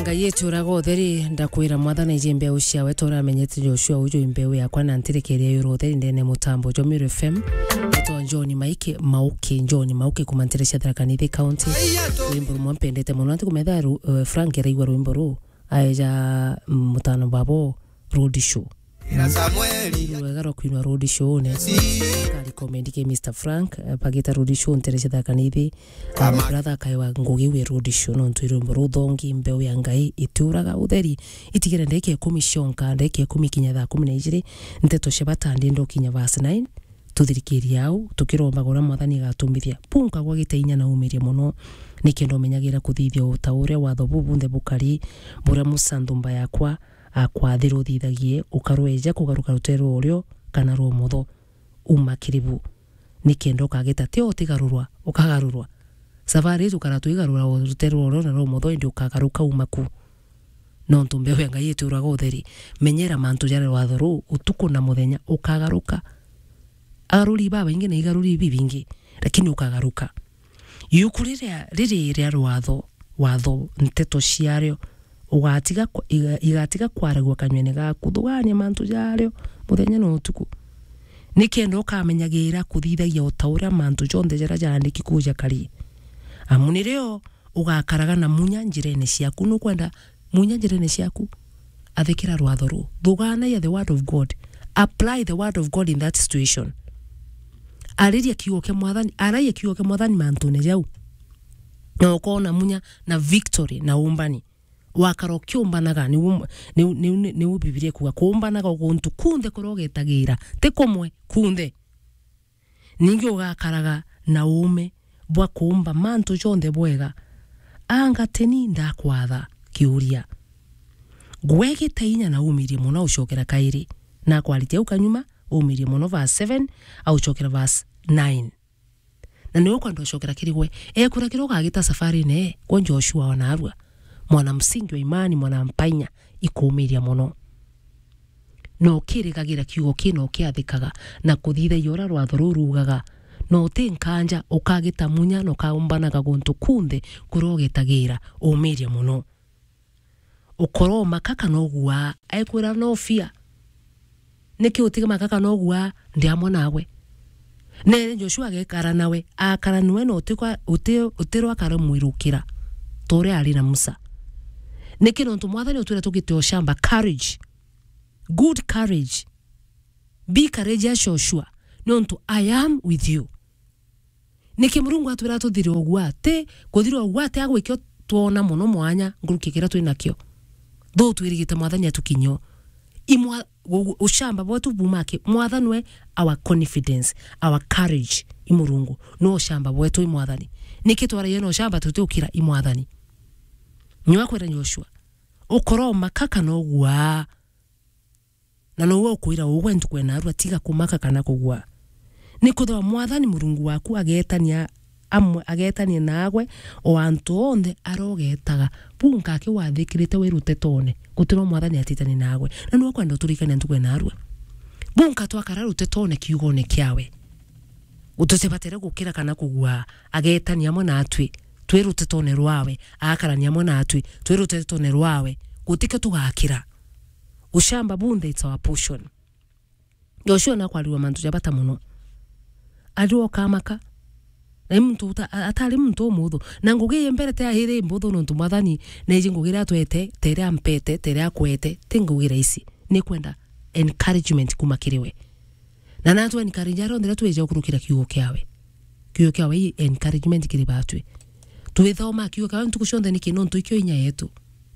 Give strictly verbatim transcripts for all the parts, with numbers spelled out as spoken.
Ngai etu uraga utheri, ndakwira Mwathani iji mbeu ciawe, ta uria amenyete Joshua, uju i mbeu yakwa, na ntirekeria yura utheri ndene mutambo jwa Meru F M. Etwa John Maike, Mauke, John Mauke, kuma ntere cia Tharaka Nithi County. Rwimbo rumwe mpendete muno, anti kumetha ru-, eh, Frank eraigua rwimbo ruu, aeja, mm, mutano babo road show. Rwega rwa kwinwa road show ne. Ka recommend ke Mister Frank, eh, bagita road show ntere cia Tharaka Nithi. Ah, brother, akaewa ngugi wi road show, nontu i rwimbo ruthongi, mbeu ya Ngai itiuraga utheri. Itigere ndagika ikumi cionka, ndagika ikumi kinya thaa kumi na ijiri, nteto cia bata ndi ndokinya verse nine, tuthirikirie au, tukirombaga uria Mwathani agatumithia. Punka gwa gita inya na umirie muno, nikenda umenyagira kuthithia o ta uria watho buu bunthe bukari, buria Musa nthumba yakwa akwathire uthithagie, ukarweja kugaruka rutere rwa urio kana rwa umotho. Uma kiri bu, nikenda ukagita ti o utigarurwa, ukagarurwa. Safari iji tukara twigarura o rutere rwa urio na rwa umotho, indi ukagaruka uma ku. Nontu mbeu ya Ngai itiuraga utheri. Menyera mantu jaria watho ruu, utuku na muthenya, ukagaruka. Agaruri babaingi na igaruri bibingi, lakini ukagaruka. Yuku riria, riri ria rwatho, watho, nteto ciario, ugatiga ku-, iga-, igatiga kwaragua kanywene gaku, thugania mantu jario muthenya na utuku, nikenda ukamenyagira kuthithagia o ta uria mantu jonthe jaria jaandiki kuu jakari. Amu nirio ugakaraga na munya njirene ciaku. Nukwenda munya njirene ciaku? Athikira rwatho ruu. Thuganagia the word of God. Apply the word of God in that situation. Ariria kiugo kia Mwathani, aragia kiugo kia Mwathani mantune jau. Na ukoona munya na victory na umbani. Wakara ukiumbanaga, niu, niu, niu, niu Bibilia ikuuga, kuumbanaga guntu kunthe kuria ugetagira, ti kumwe, kunthe. Ningi ugakaraga na uume bwa kuumba mantu jonthe bwega. Anga ti ni ndakwatha? Kiuria. Gwegita inya na umirie mono aucokera kairi. Na akwaritie au kanyuma, umirie mono verse seven, aucokera verse nine. Na niwe ukwenda ucokera kiri gwe. Ekura kiria ugagita safarine, gwe Joshua wa narua. Mwana msingi wa imani, mwana mpainya, ikuumiria mono. Na ukirigagira kiugo kii na ukiathikaga, na kuthithagia uria rwatho ruu ruugaga, na uti nkanja, ukagita munya na ukaumbanaga guntu kunthe kuria ugetagira, uumiria mono. Ukoromaka kana uguaa? Ekwira, no fear. Niki utimaka kana uguaa? Ndi amwe nawe. Nere Joshua agekara nawe, akara nawe na utikwa-, uti-, utirwa akaramwirukira, ta uria ari na Musa. Niki? Nontu Mwathani utwira tugite ucamba, courage. Good courage. Be courageous, Joshua, nontu I am with you. Niki Murungu atwira tuthire uguaa? Ti kuthira uguaa, ti agwikio twona mono mwanya nkuruki kiria twi nakio. Tho twirigite Mwathani atukinyio. Imwa-, u-, ucamba bwetu buma ki? Mwathani we our confidence, our courage. I Murungu no ucamba bwetu, i Mwathani. Niki twaragia na ucamba tutiukira? I Mwathani. Niwe akwira Joshua, ukoromaka kana uguaa? Na nouwe ukwira ugwe ntuku ya narua, tiga kumaka kana kugua. Nikwithirwa Mwathani Murungu waku ageetania amwe, ageetania naagwe o antu onthe aria ugeetaga. Buu nkaki wathikirite wi rutetone, gutirwa Mwathani atitani naagwe. Na niwe ukwenda uturikania ntuku ya narua. Buu nka twakara rutetone kiugone kiawe. Tutibatere gukira kana kugua, ageetania amwe naatwi, twi rutetone rwawe, agakarania amwe naatwi, twi rutetone rwawe, gutikio tugakira. Ucamba bunthe, it's our portion. Joshua nakwarirwa mantu ja bata mono. Arirwa ukamaka. Na i muntu uta-, a-, atari muntu umuthu. Na ngugi ii mbere ti ahiri mbuthu nontu Mwathani neeji ngugi iria atwete, ta iria ampete, ta iria akwete. Ti ngugi rahisi. Nikwenda encouragement kuma kiri we. Na natwe encourage aria onthe aria twija ukurukira kiugo kiawe. Kiugo kiawe i encouragement kiri batwi. Twithoma kiugo kiawe ntuku cionthe niki? Nontu ikio inya yetu.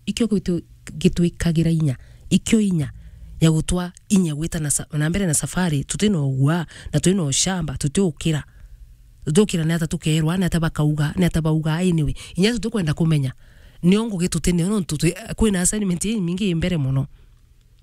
Ikio gitu-, gitwikagira inya. Ikio inya ya gutwa inya gwita na sa-, na mbere na safari, tuti na ugua, na twi na ucamba, tutiukira. Tutiukira ni ata tukerwa, ni ata bakauga, ni ata bauga, anyway. Inya tutikwenda kumenya. Nio ngugi tuti nio, nontu twi-, kwina assignment imingi i mbere mono.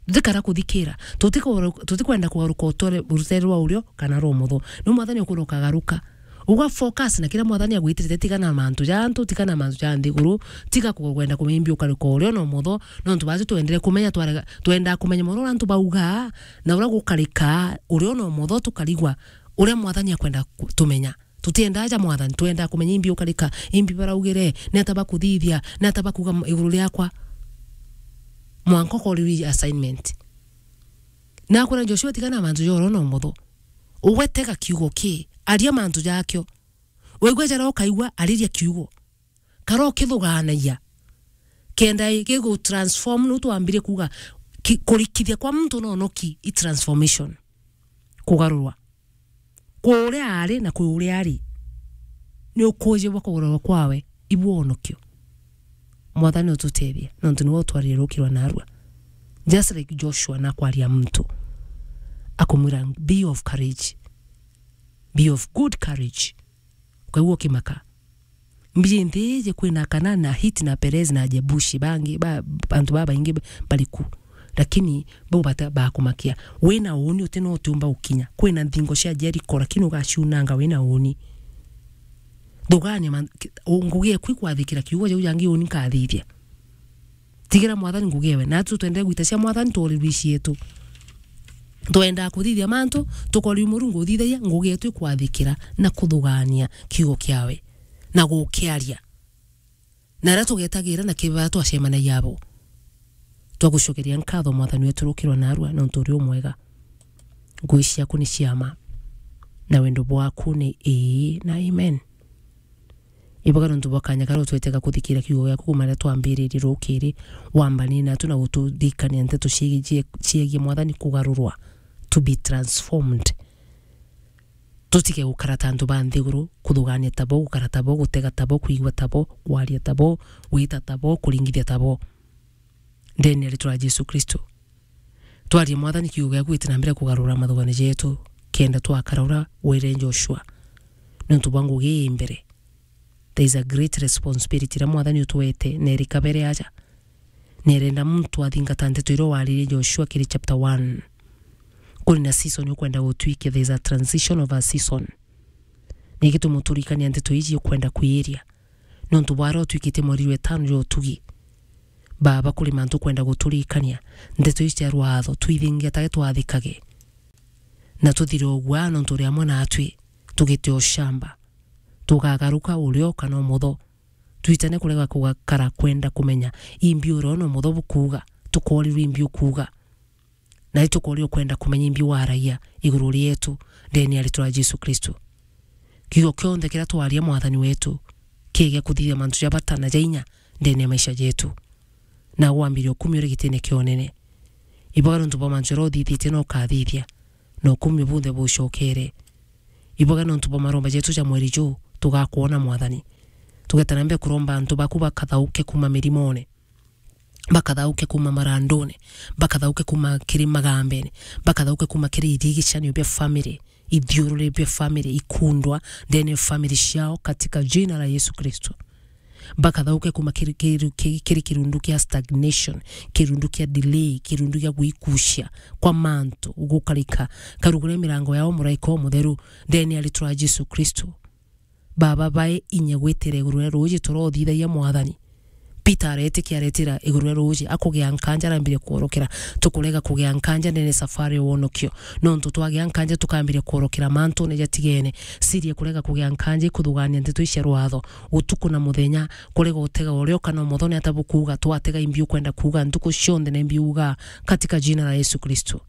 Tutikara kuthikira. Tutikoro-, tutikwenda kugaruka utore-, rutere rwa urio kana rwa umotho. Ni Mwathani ukwira ukagaruka. Uga focus na kiria Mwathani agwitirite, tiga na mantu ja antu, tiga na mantu ja nthiguru, tiga ku-, kwenda kumenya imbi ukarika urio na umotho, nontu baaju twendere kumenya, twarega, twendaa kumenya mono uria antu baugaa, na uria gukarika urio na umotho tukarigwa uria Mwathani akwenda ku-, tumenya. Tutiendaa ja Mwathani, twendaa kumenya imbi ukarika, imbi baraugire, ni ata bakuthithia, ni ata bakuuga m-, iguru riakwa. Mwanka ukorirwe assignment. Na akwira Joshua, tigana na mantu ja oro na umotho. Ugwe tega kiugo ki, aria mantu jakio. Waigua jara ukaigua, ariria kiugo. Kara ukithugaanagia. Kenda gigu transform, nu twambire kuuga ki-, kurikithia kwa muntu no noki i transformation. Kugarurwa. Kwi uria ari na kwi uria ari. Ni ukuujibwa kugarurwa kwawe, ibu wonokio. Mwathani ututethie, nontu niwe utwarire ruki rwa narua. Just like Joshua nakwaria muntu. Akumwira, "Be of courage. Be of good courage." Ukaigua ukimaka. Mbiji nthi iji kwina Akana na Hiti na Perezi na Jebusi, bangi, ba, antu babaingi ba-, bari ku. Lakini bau bata-, bakumakia. Wina uuni uti no utiumba gukinya. Kwina nthingo cia Jeriko, lakini ugaciunanga wina uuni. Thugaania man-, ki-, u-, ngugi eku ikwathikira kiugo jau jangi uuni nkathithia. Tigira Mwathani ngugi ewe. Natu twendere gwita cia Mwathani, tworirwe cietu. Twendaa kuthithia mantu, tukorirwe Murungu uthithagia, ngugi yetu ikwathikira na kuthugaania kiugo kiawe na gukiaria. Na aria tugetagira na kibaa twacemanagia abo. Twagucokeria nkatho, Mwathani wetu, ruki rwa narua, nontu uri umwega. Ngugi ciaku ni cia ma, na wendo bwaku ni ii na amen. Iboga nontu bwa kanya karia utwete ga kuthikira kiugo giaku kuuma riria twambiririe rukiri, wambanie natu na guturirikania nteto ciegie, ciegie Mwathani kugarurwa, to be transformed. Tutige gukara ta antu ba nthiguru, kuthugania tabo, gukara tabo, gutega tabo, kwigua tabo, kwaria tabo, gwita tabo, kuringithia tabo. Ndene ya ritwa ria Jesu Kristo. Twarie Mwathani kiugo giaku giti na mbere kugarura mathugani jetu, kenda twakara uria wire Joshua. Nontu bwa ngugi ii mbere. There is a great responsibility iria Mwathani utwete, na iri kabere aja. Na irenda muntu athingata nteto iria waririe Joshua kiri chapter one. Kuri na season ukwenda gutwikia, there is a transition of a season. Niki tumuturikania nteto iji ukwenda kwiria? Nontu bwa aria utwikite mweri jwa itano jwa utugi. Baba, kuri mantu ukwenda guturikania, nteto iji cia rwatho, twithingia tage twathikage. Na tuthire ugwa nontu uri amwe natwi, tugite ushamba. Tugagaruka urio kana umotho. Twitane kurega kugakara kwenda kumenya imbi urio na umotho bukuuga, tukorirwe imbi ukuuga. Na itukoria ukwenda kumenya imbi waragia iguru rietu ndene ya ritwa ria Jesu Kristo. Kiugo kionthe kiria twaria Mwathani wetu, kiige kuthithia mantu ja bata na ja inya ndene ya maisha jetu. Na wambirie ukumio uri gitine kia unene. Iboga nontu bwa mantu jaria uthithitie na ukathithia, na ukumio bunthe bucokere. Iboga nontu bwa maromba jetu ja mweri juu, tugakwona Mwathani. Tugeta na mbere kuromba antu baku bakathauke kuuma mirimone. Bakathauke kuuma marandune, bakathauke kuuma kiri magambene, bakathauke kuuma kiri irigicanio bia family, ithiururi bia family, ikundwa ndene ya family ciao katika jina la Yesu Kristo. Bakathauke kuuma kiri, kiri, kiri, kiri kirundu kia stagnation, kirundu kia delay, kirundu gia gwikucia kwa mantu gukarika, karugure mirango yao muraika umutheru ndene ya ritwa ria Jesu Kristo. Baba, bae inya gwitira iguru ria ruuji turothithagia Mwathani. Peter aretikia aretira iguru ria ruuji, akugia nkanja arambiria kworokera. Tukurega kugia nkanja ndene safari ya wonokio. Nontu twagia nkanja tukambiria kworokera mantune jatigene. Siria kurega kugia nkanja ikuthugania nteto ici cia rwatho. Utuku na muthenya, kurega utega urio kana umotho ni ata bukuuga, twatega imbi ukwenda kuuga, ntuku cionthe na imbi uga, katika jina la Yesu Kristo.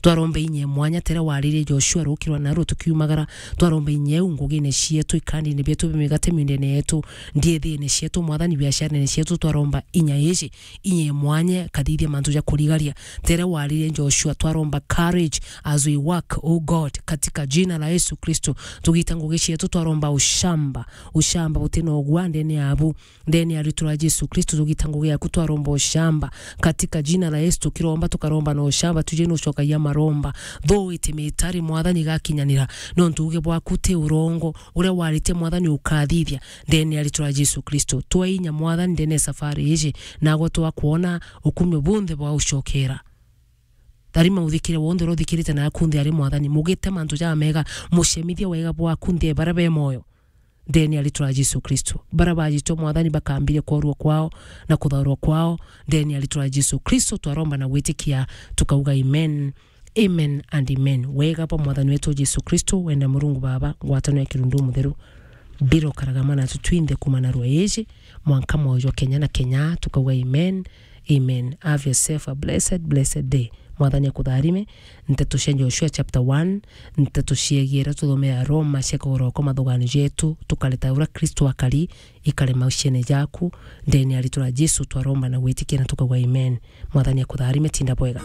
Twaromba inya ya mwanya tere waririe Joshua rukirwa naru tukiumagara. Twaromba inya eu ngugine cietu, ikandine bietu bia migate miundene yetu, ndiethine cietu, Mwathani, biacarene cietu. Twaromba inya iji, inya ya mwanya kathithia mantu ja kurigaria. Tere waririe Joshua, twaromba courage as we work, oh God, katika jina la Yesu Kristo. Tugita ngugi cietu, twaromba ushamba, ushamba butina ugwa ndene yabu. Ndene ya ritwa ria Jesu Kristo, tugita ngugi yaku, twaromba ushamba. Katika jina la Yesu, tukiromba, tukaromba na ushamba, tuje nucokagia maromba. Though it may tarry, Mwathani, igakinyanira. Nontu uge bwaku ti urongo, uria waritie, Mwathani, ukathithia. Ndene ya ritwa ria Jesu Kristo, twe inya, Mwathani, ndene ya safari iji, nagwe twakwona ukumio bunthe bwa ucokera. Tharima uthikire wonthe uria uthikirite na aku nthi ari, Mwathani, mugite mantu jamega, mucemithie wega bwaku nthi e baria be moyo. Ndene ya ritwa ria Jesu Kristo. Baria bajitwe, Mwathani, bakambirie kworua kwao na kuthaurwa kwao. Ndene ya ritwa ria Jesu Kristo twaromba na gwitikia, tukauga amen. Amen and amen. Wega bwa Mwathani wetu Jesu Kristo, wenda Murungu Baba, ngwatanio ya Kirundu Mutheru, biro karagama natu twinthe kuuma narua iji, mwanka mwoyo jwa kenya na kenya, tukauga amen. Amen. Have yourself a blessed, blessed day. Mwathani akutharime. Nteto cia Joshua chapter one, nteto ciegie iria tuthomea Roma ciakagorokwa mathugano jetu, tukareta uria Kristo akari, ikare mauciene jaku, ndene ya ritwa ria Jesu twaromba na gwitikia na tukauga amen. Mwathani akutharime, tinda bwega.